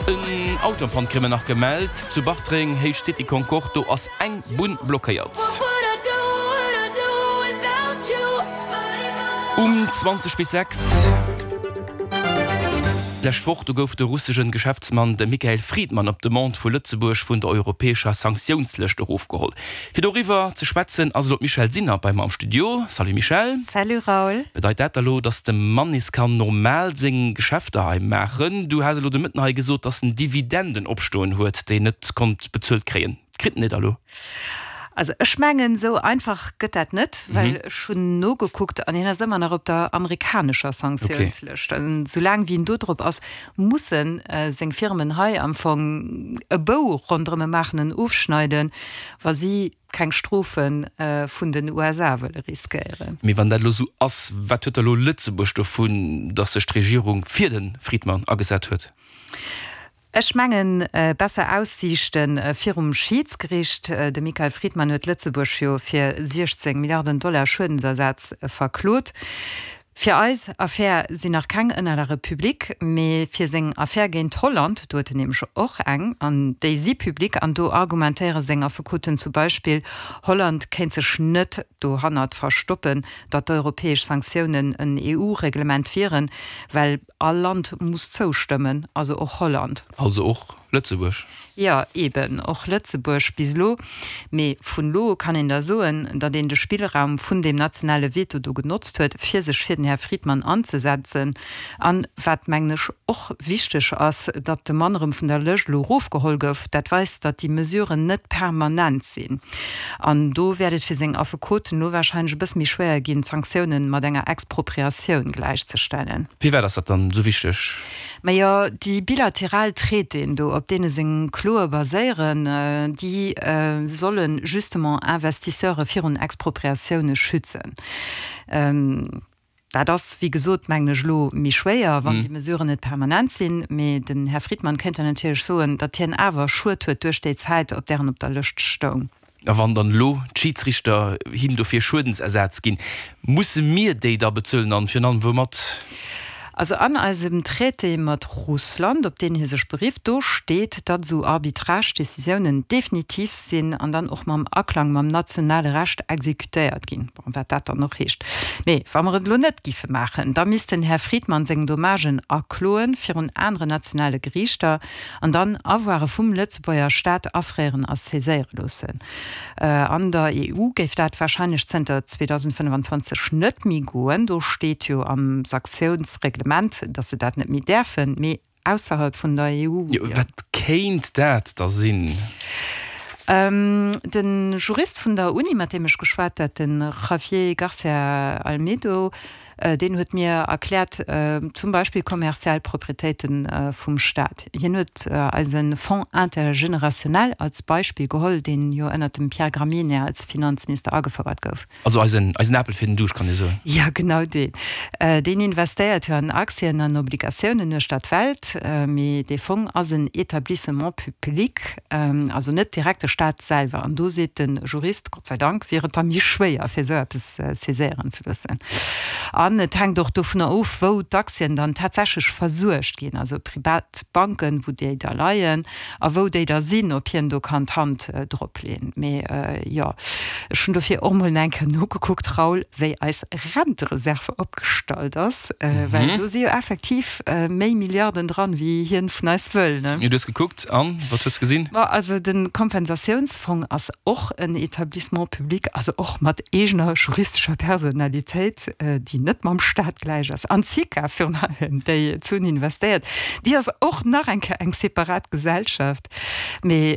En Auto en Panne kréie mer nach gemellt zu Bartreng, Héicht City Concorde, do ass eng Bunn blockéiert. Um 20 bis 6 d'lescht Woch, do gouf de russegen Geschäftsmann de Mikhail Fridman op Demande vu Lëtzebuerg vun der europäescher Sanktiounslëscht erofgeholl. Fir doriwwer ze schwätzen ass elo d'Michèle Sinner bei mer am Studio. Salut Michèle. Salut Raoul. Bedeit dat da lo, dass de Mann nees kann normal seng Geschäfter hei maachen? Du has elo de Mëtten hei gesot, dass en Dividenden opstoen huet, déi en net konnt bezuelt kréien. Kritt en déi da lo? Also ech mengen, esou einfach gëtt dat net, well ech hunn nogekuckt an hien ass ëmmer nach op der amerikanescher Sanktiounslëscht. An soulaang wéi en do drop ass, musse seng Firmen hei am Fong e Bou ronderëm e maachen, en ofschneiden, wa si keng Strofe vun den USA wëlle riskéieren. Mee wann dat elo esou ass, wat huet da elo Lëtzebuerg dovun, datt sech d'Regierung fir de Friedmann agesat huet? Ech mengen, besser Aussiichte virum Schiidsgericht. De Michael Friedman huet Lëtzebuerg jo fir 16 Milliarden Dollar Schuedensersaz verklot. Fir eis Affär sinn nach keng Ënnerlage public, mee fir seng Affär géint Holland, do huet en nämlech och eng, an déi si public, an do argumentéiere seng Affekoten zum Beispill, Holland kéint sech net dohannert verstoppen, datt d'europäesch Sanktiounen en EU-Reglement wieren, well all Land muss zoustëmmen, also och Holland. Also och Lëtzebuerg. Jo, eben, och Lëtzebuerg bis elo. Mee vun elo u kann een da soen, datt een de Spillraum vun deem nationale Veto do genotzt huet, fir sech fir den Här Friedmann anzesetzen. An, wat, mengen ech, och wichteg ass, datt de Mann erëm vun der Lëscht elo erofgeholl gouf. Dat weist, datt déi Mesuren net permanent sinn. An do wäert et fir seng Affekoten elo wahrscheinlech e bësse méi schwéier ginn, d'Sanktiounen mat enger Expropriatioun gläichzestellen. Firwat ass dat dann esou wichteg? Majo, déi bilateral Traitéen do, op deene seng Kloe baséieren, déi solle justement Investisseure virun Expropriatioune schützen. Dat ass, wéi gesot, mengen ech, elo méi schwéier, wann déi Mesuren net permanent sinn. Mee den Här Friedmann kéint dann natierlech soen, datt hien awer Schued huet duerch déi Zäit, op där en op der Lëscht stoung. A wann dann elo d'Schidsrichter him dofir Schuedensersaz ginn, musse mir déi da bezuelen an virun allem woumat? Also an eisem Traité mat Russland, op deen hie sech berifft, do steet, datt esou Arbitrage-Décisiounen definitiv sinn an dann och mam Aklang mam nationale Recht exécutéiert ginn. Bon, wat dat dann och heescht. Mee wa mer et elo net giffe maachen, da misst den Här Friedmann seng Dommagen akloen virun aneren nationale Geriichter. An dann Avoire vum Lëtzebuerger Staat afréieren a saiséiere loossen. An der EU géif dat warscheinlech zënter 2025 net méi goen. Do steet jo am Sanktiounsreglement, datt se dat net méi däerfen, mee ausserhalb vun der EU. Jo, wat kéint dat da sinn? De Jurist vun der Uni, mat deem ech geschwat hat, de Javier Garcia Almedo, Deen huet mir erkläert, zum Beispill kommerziell Proprietéite vum Staat. Hien huet eise Fonds intergénérationnel als Beispill geholl, deen jo ënnert dem Pierre Gramegna als Finanzminister agefouert gouf. Also eisen Apel fir den Duuscht, kann ee soen. Jo, genau deen. Deen investéiert jo an Aktien an Obligatiounen uechter d'Welt. Mee dee Fong ass en Établissement public, also net direkt de Staat selwer. An do seet de Jurist, Gott sei Dank, wier et da méi schwéier, fir esou eppes saiséieren ze loossen. An et hänkt och dovunner of, wou d'Aktien dann tatsächlech versuergt ginn, also privat Banken, wou déi da leien a wou déi da sinn, ob hien do kann d'Hand drop leeën. Mee jo, ech hunn dofir och mol eng Kéier nogekuckt, Raoul, wéi eis Rentereserve opgestallt ass, well do si jo effektiv méi Milliarden dran, wéi hien vun eis wëll, ne? Jo, du hues gekuckt an wat hues de gesinn? Ma also de Kompensatiounsfong ass och en Établissement public, also och mat eegener juristescher Personalitéit, déi net mam Staat gläich ass. An d'SICA virun allem, déi d'Suen investéiert, déi ass och nach eng Kéier eng separat Gesellschaft. Mee.